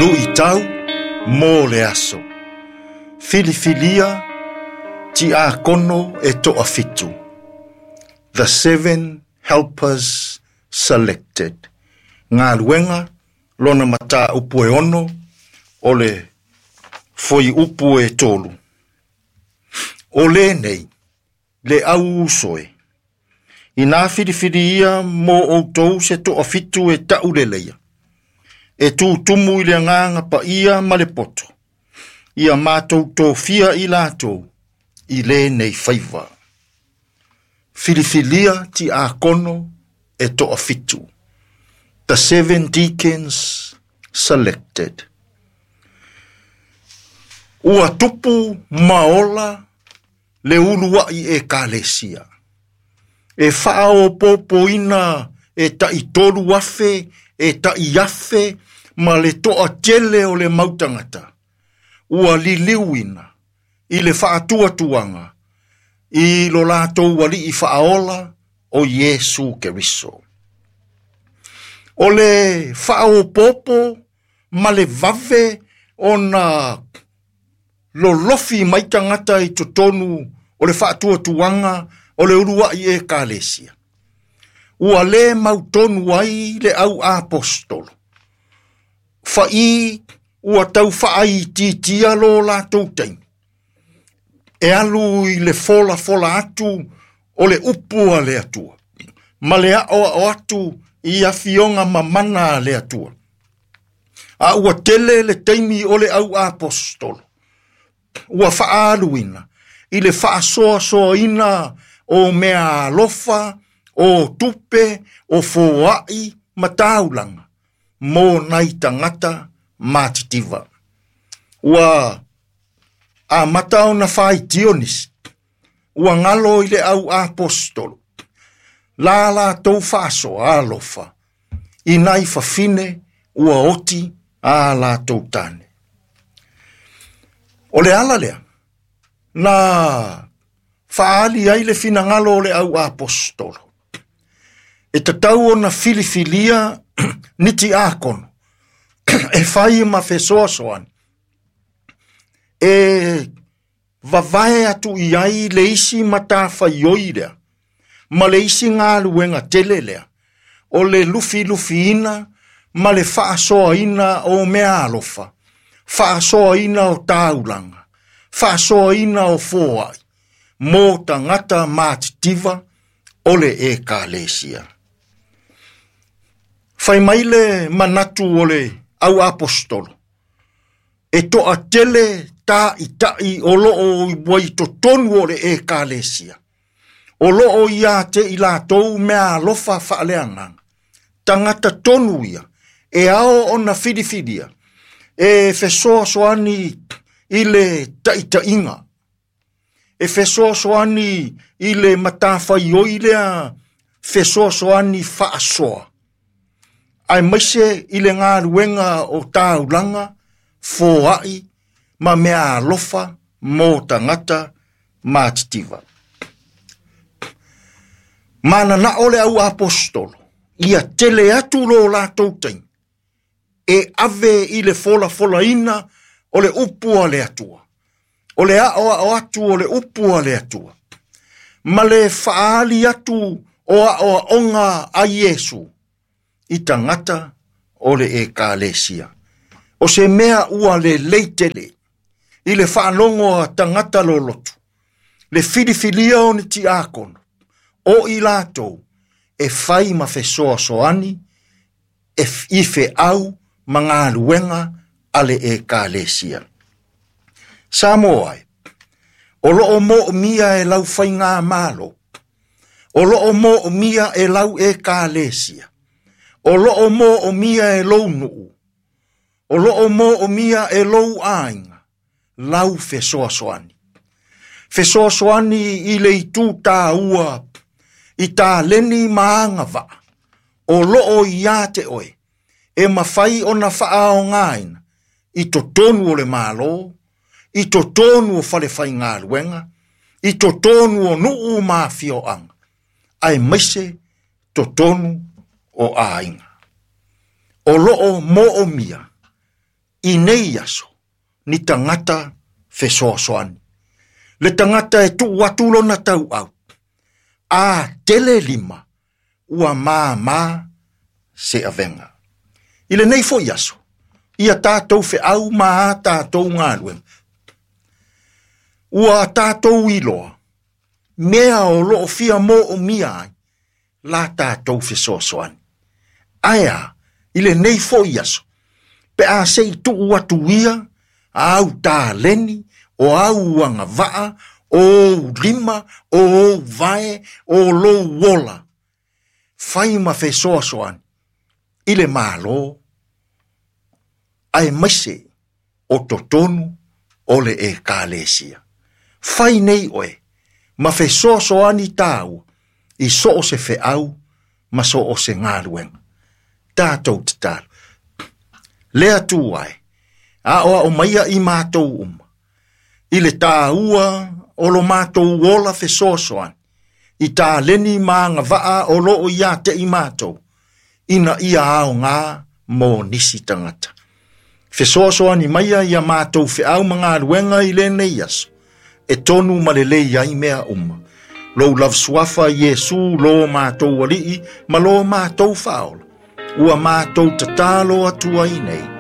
Luitau mo le aso. Filifilia tiakono e toafitu. The seven helpers selected. Galuega lona mataupu e 6 o le fuaiupu e 3. O lenei le au uso e. Inā filifilia mo outou se toafitu e tauleleia. E tūtumu i le agaga paia ma le poto. Ia matou tofia i latou i lenei faiva. Filifilia tiakono e toafitu. The seven deacons selected. Ua tupu ma ola le uluai ekalesia. E faaopoopoina e tai 3,000, e tai 1,000, ma le toatele o le mau tagata. Ua liliuina i le faatuatuaga i lo latou alii faaola o Iesu Keriso. O le faaopoopo ma le vave ona lolofi mai tagata i totonu o le faatuatuaga o le uluai ekalesia. Ua le mautonu ai le au apostolo. Fai ua tau faaitiitia lo latou taimi. E alu i le folafola atu o le upu a le Atua. Ma le aoao atu i afioga mamana a le Atua. A ua tele le taimi o le au apostolo. Ua faaluina i le faasoasoaina o mea alofa, o tupe, o foai ma taulaga mo nai tagata matitiva. Ua amata ona faitio nisi. Ua galo i le au apostolo. La latou faasoa alofa. I nai fafine ua oti a latou tane. O le ala lea, na faaali ai le finagalo o le au apostolo. E tatau ona filifilia ni tiakono e fai ma fesoasoani. E vavae atu i ai le isi matafaioi lea, ma le isi galuega tele lea, o le lufilufiina ma le faasoaina o mea alofa, faasoaina o taulaga, faasoaina o foai, mo tagata matitiva o le ekalesia. Fai mai le manatu o le au apostolo, e toatele taʻitaʻi o loo ua i totonu o le ekalesia. O loo ia te i latou mea alofa faaleagaga. Tagata tonu ia, e ao ona filifilia, e fesoasoani i le taitaiga, e fesoasoani i le matafaioi lea, fesoasoani faasoa. Aemaise i le galuega o taulaga, foai ma mea alofa mo tagata matitiva. Mananao le au apostolo, ia tele atu lo latou taimi, e ave i le folafolaina o le upu a le Atua. O le aoao atu o le upu a le Atua. Ma le faaali atu o aoaoga a Iesu i tagata o le ekalesia. O se mea ua lelei tele i le faalogo a tagata lolotu, le filifilia o ni tiakono, o i latou e fai ma fesoasoani e i feau ma galuega a le ekalesia. Samoa e, o loo moomia e lau faigamalo, o loo moomia e lau ekalesia, o loo moomia e lou nuu, o loo moomia e lou aiga, lau fesoasoani. Fesoasoani i le itu tāua, i taleni ma agavaa, o loo ia te oe, e mafai ona faaogaina i totonu o le Malo, i totonu o fale faigaluega, i totonu o nuu ma afioaga, aemaise totonu o aiga. O loo moomia i nei aso ni tagata fesoasoani. Le tagata e tuu atu lona tauau, a tele lima, ua māmā se avega. I lenei foi aso, ia tātou feau ma a tātou galuega. Ua tātou iloa, mea o loo fia moomia ai, la tātou fesoasoani. Ae a, i lenei foi aso, pe a se i tuu atu ia, au taleni, o au agavaa, o ou lima, o ou vae, o lou ola, fai ma fesoasoani i le Malo, aemaise o totonu o le Ekalesia. Fai nei oe ma fesoasoani tāua i so o se feau ma so o se galuega. Tatou tatalo. Le Atua e, aoao maia i matou uma, i le tāua o lo matou ola fesoasoani, i taleni ma agavaa o loo ia te i matou, ina ia aoga mo nisi tagata. Fesoasoani maia ia matou feau ma galuega i lenei aso, e tonu ma lelei ai mea uma. Lou lava suafa Iesu lo matou Alii ma lo matou Faaola, ua matou tatalo atu ai nei.